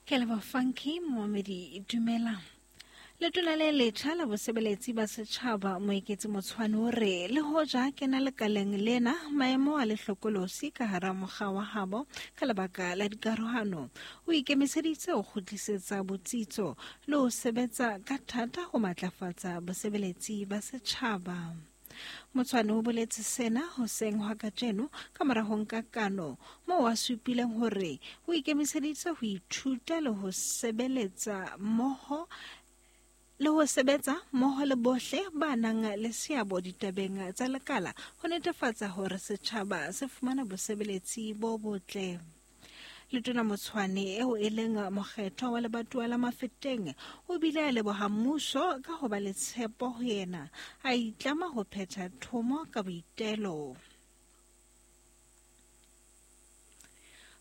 Ke leboha Funky momamedi dumela. Letona le letjha la bosebeletsi ba setjhaba Moeketsi Motshwane o re le hoja kena lekaleng lena maemo a lehlokolosi ka hara mokga wa habo ka lebaka la dikarohano o ikemiseditse ho kgutlisetsa botsitso le ho sebetsa ka thata ho matlafatsa bosebeletsi ba setjhaba. Motshwane o boletse sena hoseng hwa kajeno ka mora ho nka kano moo a supileng hore o ikemiseditse ho ithuta le ho sebeletsa mmoho le ho sebetsa mmoho le bohle ba nang le seabo ditabeng tsa lekala ho netefatsa hore setjhaba se fumana bosebeletsi bo botle. Letona Motshwane eo e leng mokgethwa wa lebatowa la Mafeteng o bile a leboha mmuso ka ho ba le tshepo ho yena, a itlama ho phetha thomo ka boitelo.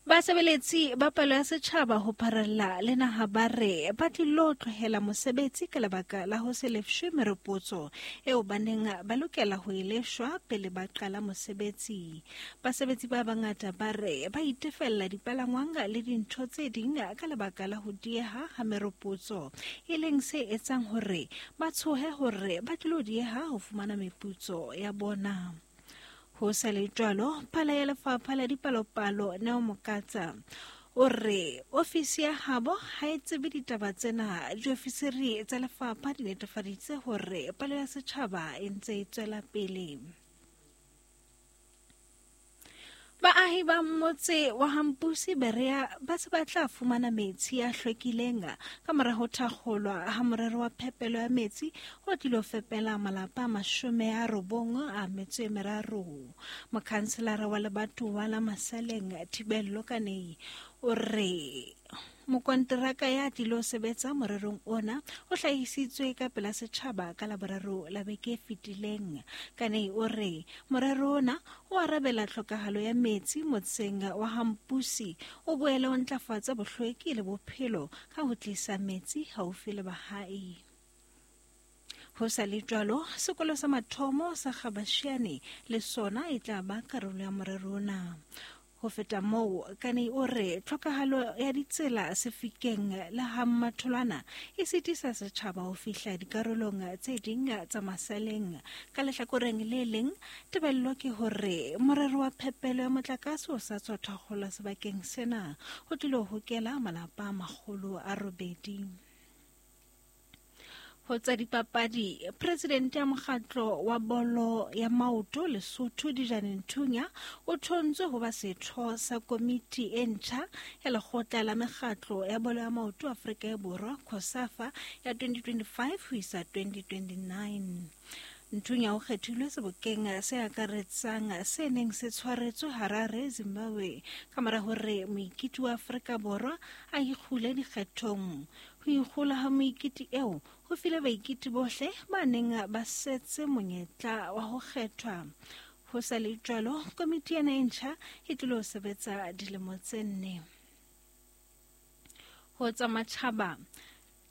Basebeletsi ba palo ya setjhaba ho pharella le naha ba re ba tlilo tlohela mosebetsi ka lebaka la ho se lefshwe meropotso eo ba neng ba lokela ho e lefshwa pele ba qala mosebetsi. Basebetsi ba bangata ba re ba itefella dipalangwang le dintho tse ding ka lebaka la ho dieha ha meropotso, e leng se etsang hore ba tshohe hore ba tlilo dieha ho fumana meputso ya bona. Ho sa le jwalo, phala ya lefapha la dipalopalo Neo Mokatsa o re ofisi ya habo ha e tsebe ditaba tsena. Diofisiri tsa lefapha di netefaditse hore palo ya setjhaba e ntse e tswela pele. Baahi ba motse wa Hampusi Berea ba se ba tla fumana metsi a hlwekileng ka mora ho thakgolwa ha morero wa phepelo ya metsi o tlilo fepela malapa a 93. Mokhanselara wa lebatowa la Masaleng Thibello Kanei o re mokonteraka ya tlilo sebetsa morerong ona o hlahisitswe ka pela setjhaba ka Laboraro la beke e fetileng. Kanei o re morero ona o arabela tlhokahalo ya metsi motseng wa Hampusi, o boele o ntlafatsa bohlweki le bophelo ka ho tlisa metsi haufi le bahai. Ho sa le jwalo, sekolo sa mathomo sa Gabashiane le sona e tla ba karolo ya morero ona. Ho feta moo, Kanei o re tlhokahalo ya ditsela Sefikeng le ha Mmatholwana e sitisa setjhaba ho fihla dikarolong tse ding tsa Masaleng. Ka lehlakoreng le leng, tebello ke hore morero wa phepelo ya motlakase o sa tswa thakgolwa sebakeng sena ho tlilo hokela malapa a 800. Ho tsa dipapadi, presidente ya mokgatlo wa bolo ya maoto Lesotho Dijane Nthunya o thontswe ho ba setho sa komiti e ntjha ya lekgotla la mekgatlo ya bolo ya maoto Afrika e Borwa COSAFA ya 2025 ho isa 2029. Nthunya o kgethilwe sebokeng se akaretsang se neng se tshwaretswe Harare, Zimbabwe, ka mora hore moikiti wa Afrika Borwa a ikgule dikgethong. Ho ikgola ha moikiti eo ho file baikiti bohle ba neng ba setse monyetla wa ho kgethwa. Ho sa le jwalo, komiti ena e ntjha e tlilo sebetsa dilemo tse 4. Ho tsa matjhaba,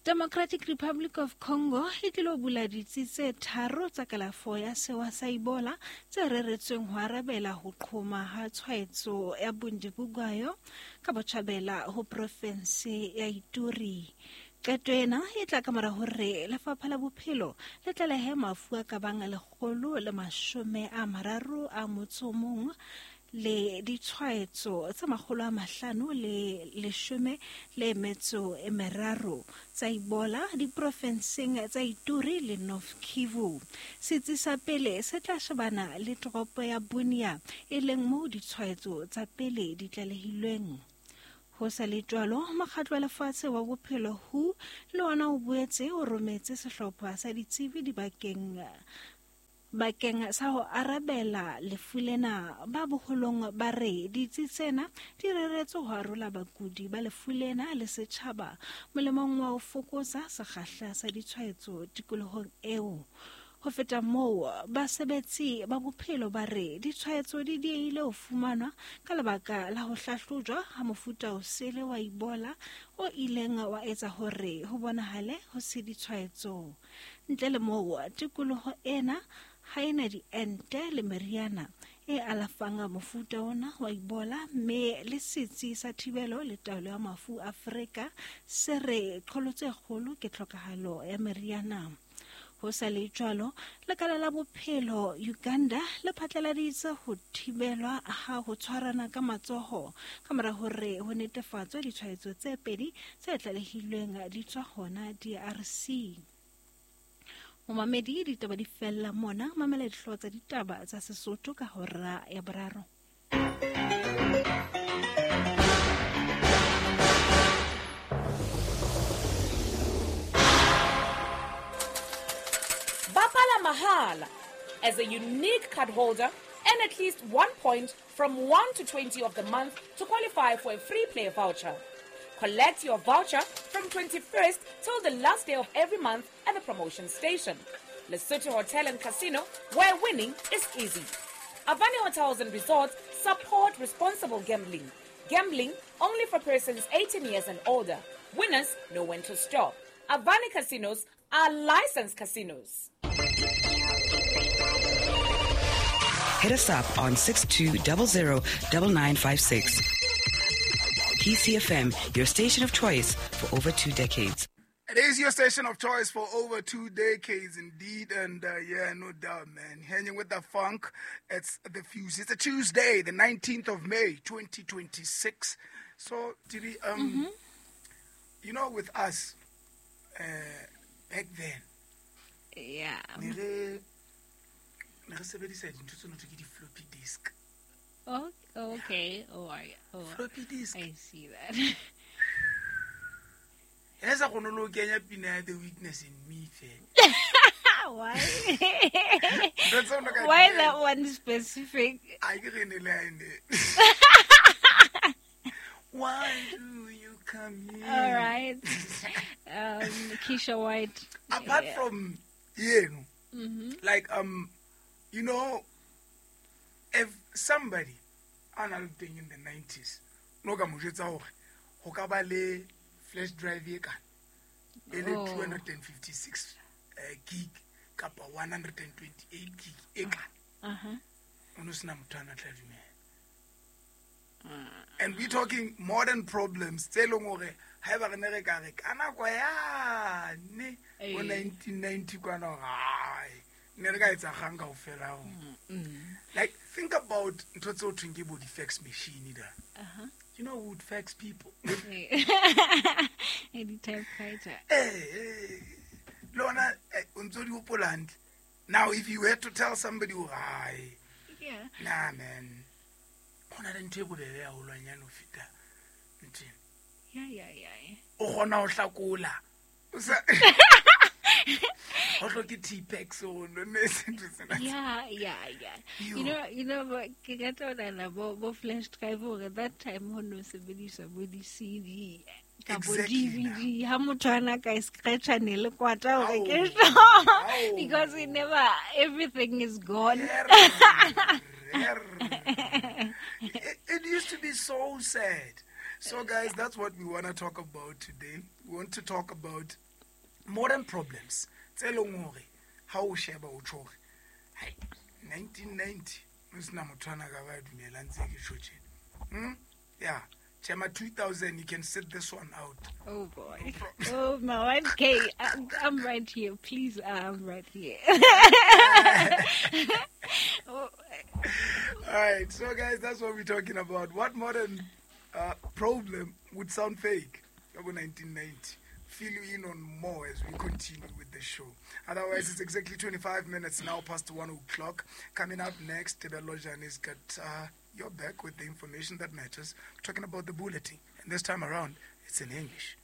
Democratic Republic of Congo e tlilo bula ditsi tse 3 tsa kalafo ya sewa sa Ebola tse reretsweng ho arabela ho qhoma ha tshwaetso ya Bundibugwayo ka botjhabela ho profense ya Ituri. Qeto ena e tla ka mora hore lefapha la bophelo le tlalehe mafu a ka bang 131 le ditshwaetso tse 513 tsa Ebola diprofenseng tsa Ituri le North Kivu. Setsi sa pele se tla shebana le toropo ya Bunia, e leng moo ditshwaetso tsa pele di tlalehilweng. Ho sa le jwalo, mokgatlo wa lefatshe wa bophelo WHO le ona o boetse o rometse sehlopha sa ditsebi dibakeng bakeng sa ho arabela lefu lena. Ba boholong ba re ditsi tsena di reretswe ho arola bakudi ba lefu lena le setjhaba molemong wa ho fokotsa sekgahla sa ditshwaetso tikolohong eo. Ho feta moo, basebetsi ba bophelo ba re ditshwaetso di diehile ho fumanwa ka lebaka la ho hlahlojwa ha mofuta o sele wa Ebola o ileng wa etsa hore ho bonahale ho se ditshwaetso. Ntle le moo, tikoloho ena ha e na diente le meriana e alafang mofuta ona wa Ebola, mme le setsi sa thibelo le taolo ya mafu Afrika se re qholotso e kgolo ke tlhokahalo ya meriana. Ho sa le jwalo, lekala la bophelo Uganda le phatlaladitse ho thibelwa ha ho tshwarana ka matsoho ka mora hore ho netefatswe ditshwaetso tse pedi tse tlalehilweng di tswa hona DRC. Momamedi, ditaba di fella mona, mamela dihlooho tsa ditaba tsa Sesotho ka hora ya boraro. Bapala Mahala. As a unique card holder, earn at least 1 point from 1 to 20 of the month to qualify for a free play voucher. Collect your voucher from 21st till the last day of every month at the promotion station. Lesotho Hotel and Casino, where winning is easy. Avani Hotels and Resorts support responsible gambling. Gambling only for persons 18 years and older. Winners know when to stop. Avani Casinos are licensed casinos. Hit us up on 6200 9956. PCFM, your station of choice for over 2 decades. It is your station of choice for over 2 decades indeed. And yeah, no doubt, man. Hanging with the funk, it's the Fuse. It's a Tuesday, the 19th of May, 2026. So, Tiri, you know, with us, back then, yeah, ne re sebedisa dintho tseno tse ke di-floppy disk. Oh, okay. Oh, floppy disk. I see that. Ene sa kgone le ho kenya pina ya The Weakness in Me fela. Why? Ntho tseo no ka di Why kenya. that one specific? A ke re ne le ha ene. Why do you come here? All right. Keisha White. Apart Yeah. from yeno, like you know, if somebody a na le teng in the 90s, no ka mo jwetsa hore ho ka ba le flash drive e kana e le Oh. 256 gig kapa 128 gig e kana, o no sena motho a na tla dumela. And we talking modern problems tse leng hore haeba re ne re ka re ka nako yane bo 1990 kwana hore hai, ne re ka etsa kgang kaofela ho. Like, think about ntho tseo thweng ke bo di-fax machine da. You know who would fax people? Any typewriter. Lona, o ntso di hopola hantle. Now, if you had to tell somebody hore hai, Yeah. nah, man, ho na le ntho e bobebe haholwanyane ho feta ntho ena. Yeah. O kgona ho hlakola. O sa Ho hloke T-Pax o no ne se ntho tsena. Yeah. Yo. You know, but ke rata ho nahana bo flash drive hore that time ho no sebediswa bo di-CD kapa Exactly, DVD. Ha motho a na ka e scratch-a ne le kwata hore ke Ao, sure. ao. Because we never, everything is gone. It used to be so sad. So, guys, that's what we want to talk about today. We want to talk about modern problems. Tse leng hore ha o sheba o tjho hore, hai, 1990, ho sena motho ana ka ba dumelang tse ke tjho tjena. Yeah. Chema 2000, you can sit this one out. Oh, boy. Oh, my. Okay, I'm right here. Please, I'm right here. Oh. All right. So, guys, that's what we're talking about. What modern problem would sound fake? About 1990. Fill you in on more as we continue with the show. Otherwise, it's exactly 25 minutes now past 1 o'clock. Coming up next, Tebello Jani's got your back with the information that matters, talking about the bulletin. And this time around, it's in English.